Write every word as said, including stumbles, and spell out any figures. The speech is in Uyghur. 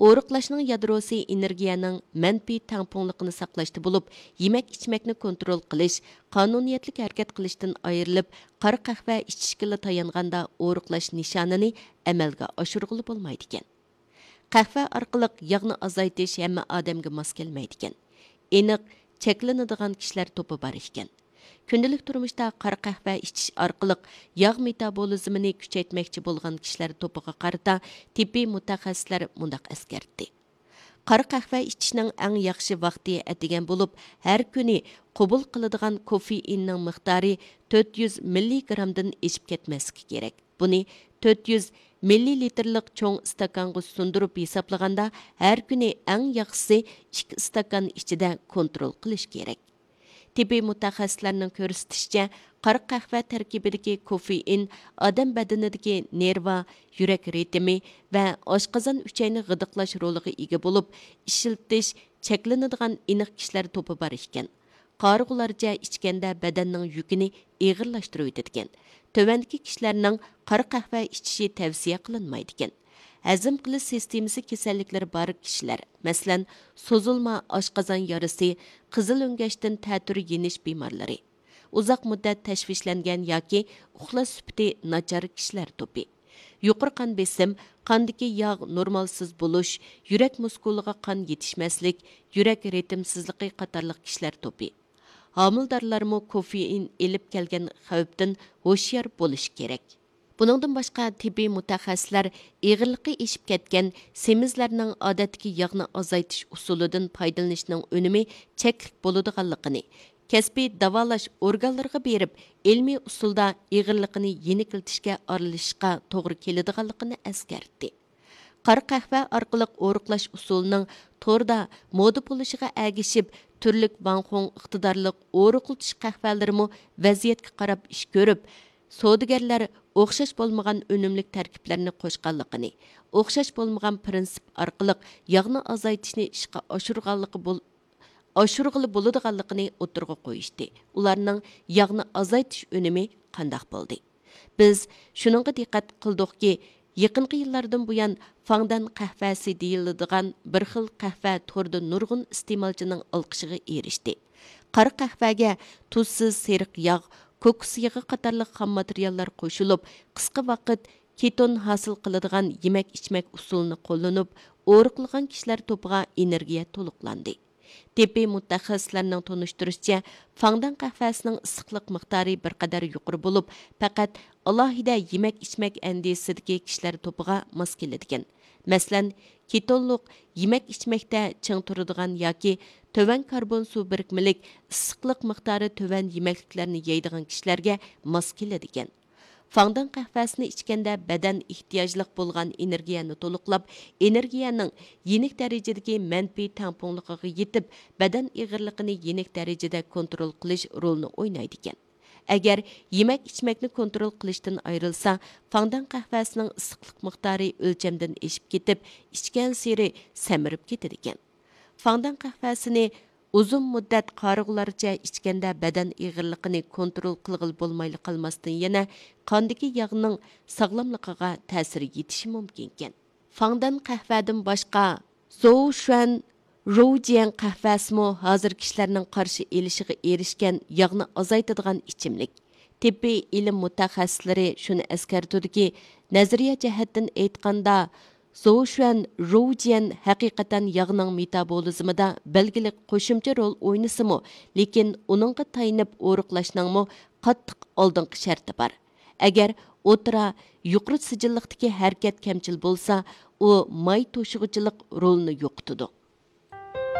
ئورۇقلاشنىڭ يادروسى ئېنېرگىيەنىڭ مەنپىي تەڭپۇڭلۇقىنى ساقلاشتا بولۇپ، يېمەك ئىچمەكنى كونترول قىلىش، قانۇنىيەتلىك ھەرىكەت قىلىشتىن ئايرىلىپ، قارا قەھۋە ئىچىشكىلا تايانغاندا ئورۇقلاش نىشانىنى ئەمەلگە ئاشۇرغىلى بولمايدىكەن. قەھۋە ئارقىلىق ياغنى ئازايتىش ھەممە ئادەمگە ماس كەلمەيدىكەن. ئېنىق، چەكلىنىدىغان كىشىلەر توپى بار ئىكەن. كۈندىلىك تۇرمۇشتا قارا قەھۋە ئىچىش ئارقىلىق ياغ مېتابولىزمىنى كۈچەيتمەكچى بولغان كىشىلەر توپىغا قارىتا تېببىي مۇتەخەسسىسلەر مۇنداق ئەسكەرتتى: قارا قەھۋە ئىچىشنىڭ ئەڭ ياخشى ۋاقتى ئەتىگەن بولۇپ، ھەر كۈنى قوبۇل قىلىدىغان كوفېئىننىڭ مىقدارى تۆت يۈز مىللىگرامدىن ئېشىپ كەتمەسلىكى كېرەك. بۇنى تۆت يۈز مىللىلىتىرلىق چوڭ ئىستاكانغا سۇندۇرۇپ ھېسابلىغاندا، ھەر كۈنى ئەڭ ياخشىسى ئىككى ئىستاكان ئىچىدە كونترول قىلىش كېرەك. تېببىي مۇتەخەسسىسلەرنىڭ كۆرسىتىشىچە، قارا قەھۋە تەركىبىدىكى كوفېئىن ئادەم بەدىنىدىكى نېرۋا، يۈرەك رىتىمى ۋە ئاشقازان ئۈچەينى غىدىقلاش رولىغا ئىگە بولۇپ، ئىشلىتىش چەكلىنىدىغان ئېنىق كىشىلەر توپى بار ئىكەن. قارىغۇلارچە ئىچكەندە بەدەننىڭ يۈكىنى ئېغىرلاشتۇرۇۋېتىدىكەن. تۆۋەندىكى كىشىلەرنىڭ قارا قەھۋە ئىچىشى تەۋسىيە قىلىنمايدىكەن: ھەزىم قىلىش سىستېمىسى كېسەللىكلىرى بار كىشىلەر، مەسىلەن، سوزۇلما ئاشقازان يارىسى، قىزىل ئۆڭگەشتىن تەتۈر يېنىش بىمارلىرى، ئۇزاق مۇددەت تەشۋىشلەنگەن ياكى ئۇخلاش سۈپىتى ناچار كىشىلەر توپى، يۇقىرى قان بېسىم، قاندىكى ياغ نورمالسىز بولۇش، يۈرەك مۇسكۇلىغا قان يېتىشمەسلىك، يۈرەك رىتىمسىزلىقى قاتارلىق كىشىلەر توپى. ھامىلىدارلارمۇ كوفېئىن ئېلىپ كەلگەن خەۋپتىن ھوشيار بولۇشى كېرەك. بۇنىڭدىن باشقا، تېببىي مۇتەخەسسىسلەر ئېغىرلىقى ئېشىپ كەتكەن سېمىزلەرنىڭ ئادەتتىكى ياغنى ئازايتىش ئۇسۇلىدىن پايدىلىنىشنىڭ ئۈنۈمى چەكلىك بولىدىغانلىقىنى، كەسپىي داۋالاش ئورگانلىرىغا بېرىپ، ئىلمىي ئۇسۇلدا ئېغىرلىقىنى يېنىكلىتىشكە ئارىلىشىشقا توغرا كېلىدىغانلىقىنى ئەسكەرتتى. قارا قەھۋە ئارقىلىق ئورۇقلاش ئۇسۇلىنىڭ توردا مودا بولۇشىغا ئەگىشىپ، تۈرلۈك ۋاڭخۇڭ ئىقتىدارلىق ئورۇقلىتىش قەھۋەلىرىمۇ ۋەزىيەتكە قاراپ ئىش كۆرۈپ، سودىگەرلەر ئوخشاش بولمىغان ئۈنۈملۈك تەركىبلەرنى قوشقانلىقىنى، ئوخشاش بولمىغان پىرىنسىپ ئارقىلىق ياغنى ئازايتىشنى ئىشقا ئاشۇرغانلىقى بول-، ئاشۇرغىلى بولىدىغانلىقىنى ئوتتۇرىغا قويۇشتى. ئۇلارنىڭ ياغنى ئازايتىش ئۈنۈمى قانداق بولدى؟ بىز شۇنىڭغا دىققەت قىلدۇقكى، يېقىنقى يىللاردىن بۇيان فاڭدەن قەھۋەسى دېيىلىدىغان بىر خىل قەھۋە توردا نۇرغۇن ئىستېمالچىنىڭ ئالقىشىغا ئېرىشتى. قارا قەھۋەگە تۇزسىز سېرىق ياغ، كوكۇس يېغى قاتارلىق خام ماتېرىياللار قوشۇلۇپ، قىسقا ۋاقىت كېتون ھاسىل قىلىدىغان يېمەك-ئىچمەك ئۇسۇلىنى قوللىنىپ، ئورۇقلىغان كىشىلەر توپىغا ئېنېرگىيە تولۇقلاندى. تېببىي مۇتەخەسسىسلەرنىڭ تونۇشتۇرۇشىچە، فاڭدەن قەھۋەسىنىڭ ئىسسىقلىق مىقدارى بىر قەدەر يۇقىرى بولۇپ، پەقەت ئالاھىدە يېمەك-ئىچمەك ئەندىزىسىدىكى كىشىلەر توپىغا ماس كېلىدىكەن. مەسىلەن، كېتونلۇق يېمەك-ئىچمەكتە چىڭ تۇرىدىغان ياكى تۆۋەن كاربون سۇ بىرىكمىلىك، ئىسسىقلىق مىقدارى تۆۋەن يېمەكلىكلەرنى يەيدىغان كىشىلەرگە ماس كېلىدىكەن. فاڭدەن قەھۋەسىنى ئىچكەندە بەدەن ئېھتىياجلىق بولغان ئېنېرگىيەنى تولۇقلاپ، ئېنېرگىيەنىڭ يېنىك دەرىجىدىكى مەنپىي تەڭپۇڭلۇقىغا يېتىپ، بەدەن ئېغىرلىقىنى يېنىك دەرىجىدە كونترول قىلىش رولىنى ئوينايدىكەن. ئەگەر يېمەك-ئىچمەكنى كونترول قىلىشتىن ئايرىلسا، فاڭدەن قەھۋەسىنىڭ ئىسسىقلىق مىقدارى ئۆلچەمدىن ئېشىپ كېتىپ، ئىچكەنسېرى سەمرىپ كېتىدىكەن. فاڭدەن قەھۋەسىنى ئۇزۇن مۇددەت قارىغۇلارچە ئىچكەندە بەدەن ئېغىرلىقىنى كونترول قىلغىلى بولمايلا قالماستىن، يەنە قاندىكى ياغنىڭ ساغلاملىقىغا تەسىر يېتىشى مۇمكىنكەن. فاڭدەن قەھۋەدىن باشقا، زوۋشۈەن روۋجيەن قەھۋەسىمۇ ھازىر كىشىلەرنىڭ قارشى ئېلىشىغا ئېرىشكەن ياغنى ئازايتىدىغان ئىچىملىك. تېببىي ئىلىم مۇتەخەسسىسلىرى شۇنى ئەسكەرتىدۇكى، نەزەرىيە جەھەتتىن ئېيتقاندا، زوۋشۈەن روۋجيەن ھەقىقەتەن ياغنىڭ مېتابولىزمىدا بەلگىلىك قوشۇمچە رول ئوينىسىمۇ، لېكىن ئۇنىڭغا تايىنىپ ئورۇقلاشنىڭمۇ قاتتىق ئالدىنقى شەرتى بار. ئەگەر ئوتتۇرا، يۇقىرى سىجىللىقتىكى ھەرىكەت كەمچىل بولسا، ئۇ ماي توشۇغۇچىلىق رولىنى يوقىتىدۇ.